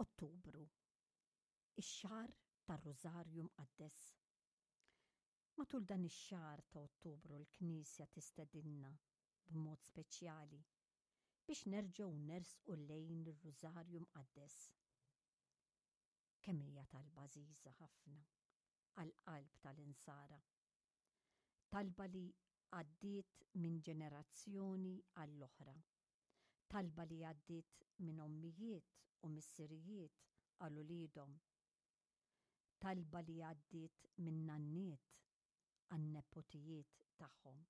Ottubru, ix-xahar tar-Rużarju Mqaddes. Matul dan ix-xahar ta' Ottubru l-Knisja tistedinna b'mod speċjali biex nerġgħu nersqu lejn ir-Rużarju Mqaddes. Kemm hija talba għażiża ħafna għall-qalb tal-Insara. Talba li għaddiet minn ġenerazzjoni għall-oħra. Talba li għaddiet minn ommijiet u missirijiet għal uliedhom. Talba li għaddiet minn nanniet għan-nepotijiet tagħhom.